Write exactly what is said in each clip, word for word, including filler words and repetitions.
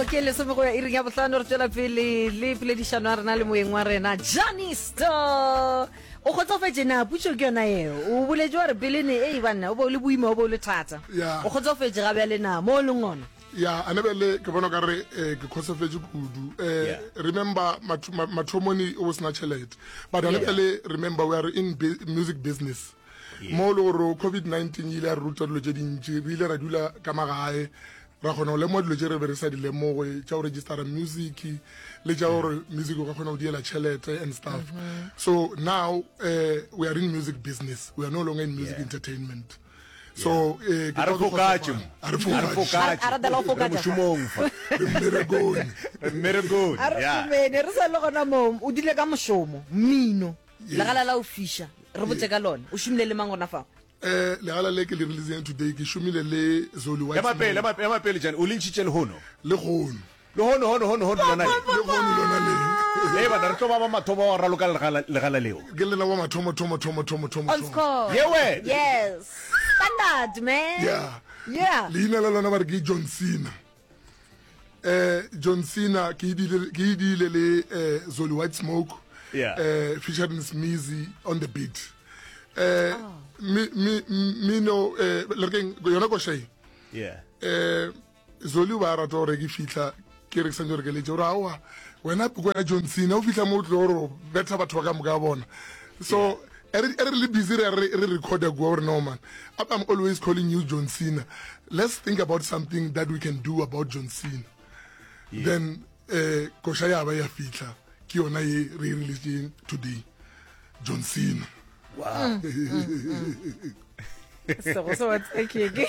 ke lesome go ya iring ya bohlano re tswela pele le poledišano ya rena le moeng wa rena Janisto o kgotsofetše na putšo ke yona eo o boletše wa re pele ne ei banna o be o le boima o be o le thata Yeah. o kgotsofetše ga bjale na mo o leng gona ya ane bele ke bona kare eh, ke kgotsofetše kudu eh, Yeah. remember matho- ma- mathomoni o sena tšhelete but ane bjale remember we are in bu music business mo e le gore covid nineteen e ile ya re ruta dilo tše dintši re ile ra dula ka magae ra kgona go lemoga dilo tše re be re sa di lemoge tša go registera music le tša gore music o ka kgona go diela tšhelete and stuff so now uh, we are in music business we are no longer in music Yeah. entertainment so eh, ke A re tlo fokatše kgotsofala. mo. A re A re fokatše. fokatše. A re dala go Re fokatša fa. mošomong fa Re mmerekong. Re mmerekong a re yeah. šomene re sa le gona moo o dile ka mošomo mmino Yes. legala la o fiša re botse ka lona o šomile le mang gona fao eh legala le ke le releasing today ke šomile le Zoli White ema pele ema ema pele jane o le ntšhitše lehono le gono lehono hono hono hono lona le le gono lona le le bana re tlo ba ba mathomo wa go raloka legala legala leo ke lena wa mathomo thomo thomo thomo thomo on thomo score Ye wena. yes standard man yeah yeah leina la lona ba re ke John Cena eh John Cena ke idile ke idile le eh Zoli White Smoke Yeah. eh featuring Smeezy on the beat eh mi mi mino eh le re keng yona koshai yeah eh Zoli o ba rata gore ke fihla ke re ke santse gore ke letse gore aowa wena ke wena John Cena o fihla mo o tlo gore o betha batho ba ka moka bona so e re e re le busy re re re recorda kua gore no man I'm always calling you John Cena let's think about something that we can do about John Cena yeah. then eh koša ya ba ya fihla ke yona ye re e releasing today John Cena wow sego se wa tsakeke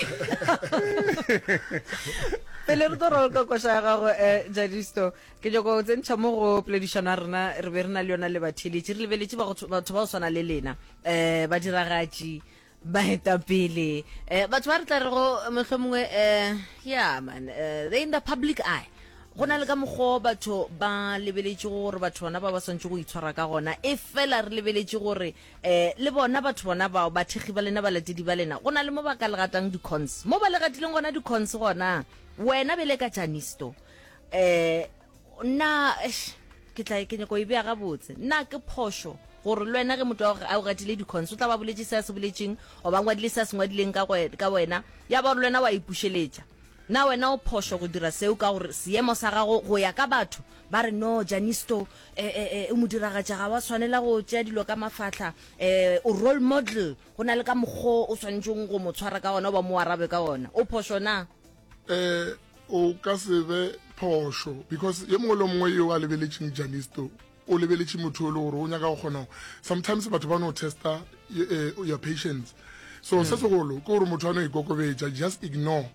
pele re tlo raloka koša ya gago um Janisto ke nyako go tsentšha mo go poledišano ya rena re be re na le yona le batheeletši re lebeletše ba go tshw- batho ba go swana le lena um badiragatši baetapele um batho ba re tla re go mohlho mongwe um yeah man uh, they in the public eye go na le ka mokgwa batho ba lebeletše gore batho bona ba ba swantse go itshwara ka gona e fela re lebeletše gore um le bona batho bona bao bathekgi ba lena balatedi ba lena go na le mo ba ka le gatang di-cons mo ba le gatileng gona di-cons gona wena bele ka Janisto um nna eish, ke tla ke nyako e bea gabotse nna ke phošo gore le wena ge motho a go- a o gatile di-cons o tla ba boletše se a se boletšeng goba ngwadile se a se ngwadileng ka go- ka wena ya ba gore le wena wa ipušeletša na wena o phošo go dira seo ka gore seemo sa gago go ya ka batho ba re no Janisto eh, eh, eh, o mo diragatša ga wa tshwanela go tšea dilo ka mafahla um o role model go na le ka mokgwa o tshwanetseng go mo tshwara ka ona o ba mo arabe ka ona o phošo na eh o ka se be phošo because ye mongwe le mongwe yo a lebeletšeng Janisto o lebeletše motho o le gore o nyaka go kgona sometimes batho ba no testa eh, your patience so se segolo ke gore motho a no ikokobetša just ignore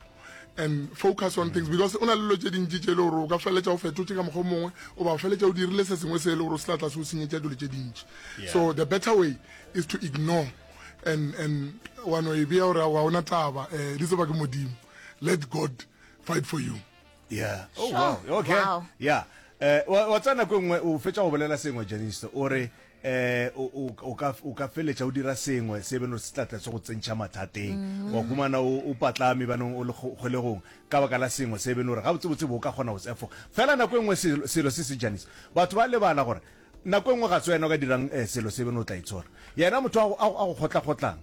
and focus on things because o na le dilo tše dintši tše e le gore o ka feleletša o fetotše ka mokgwa o mongwe o ba feleletša o dirile se sengwe se e le gore o se tla tla se o senyetša dilo tše dintši so the better way is to ignore and and wa no e bea gore ga ona taba um di tseba ke modimo let god fight for you yeah oh Sure. wow okay Wow. yeah eh wa wa tsena nako e nngwe o fetša go bolela sengwe Janisto o re eh o o- o ka o ka feletša o dira sengwe se beno se tla tla se go tsentšha mathateng wa humana o o patlame banong o le kgo- kgolegong ka baka la sengwe se beno gore ga botse bo o ka kgona go se efoga fela nako e nngwe selo selo se se Janisto batho ba lebala gore nako e nngwe ga se wena o ka dirang eh, selo se beno o tla itshola yena motho a go- a go a go kgotla-kgotlang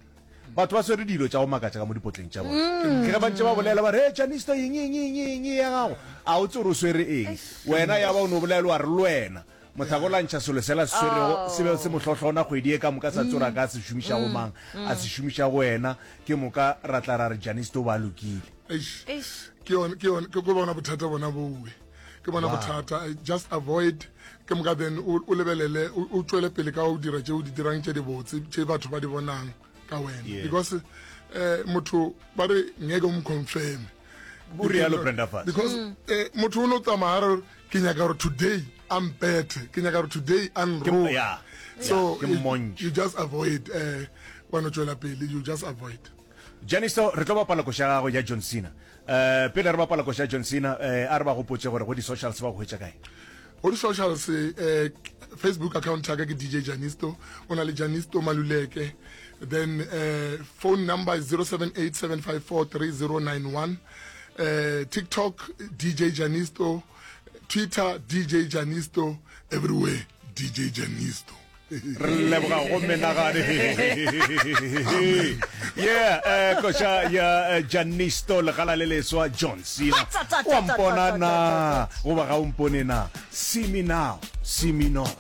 batho ba swere dilo tša go makatša ka mo dipotleng tša bona ke ge ba ntše ba bolela ba re "Hey, Janisto eng eng eng eng ya gago a o tse gore o swere eng wena ya ba o no bolela wa re le wena mohlako la ntšha selo sela se swerego se be se mo hlohlona kgwedi e ka moka sa tsora ka se šomiša go mang a se šomiša go wena ke moka ra tla ra re Janisto ba lokile Eish. Eish. ke yone ke yone ke ko bona bothata bona bowe ke bona bothata I just avoid ke moka then o o lebelele o o tšwele pele ka o dira tše o di dirang tše dibotse tše batho ba di bonang ka wena Yeah. because eh motho ba re ngeke o mo confirm O rialo, Brenda Fassie. because eh motho o no tsamaya a re ke nyaka gore today a mpethe ke nyaka gore today a nroge yeah, so yeah, ke you- mmontšhe. you just avoid eh wa no tšwela pele you just avoid Janisto re tlo bapala koša ya gago ya John Cena um pele re bapala koša ya John Cena um a re ba gopotse gore go di-socials ba go hwetša kae go di-socials eh, facebook account ya ka ke dj janisto o na le janisto maluleke then eh, phone number is zero seven eight seven five four three zero nine one Uh, TikTok D J Janisto, Twitter D J Janisto, everywhere D J Janisto. Re leboga go menagane. Yeah, eh, koša ya eh, Janisto, legala le leswa, John Cena. Wa mpona na goba ga o mpone na? See me now, see me not.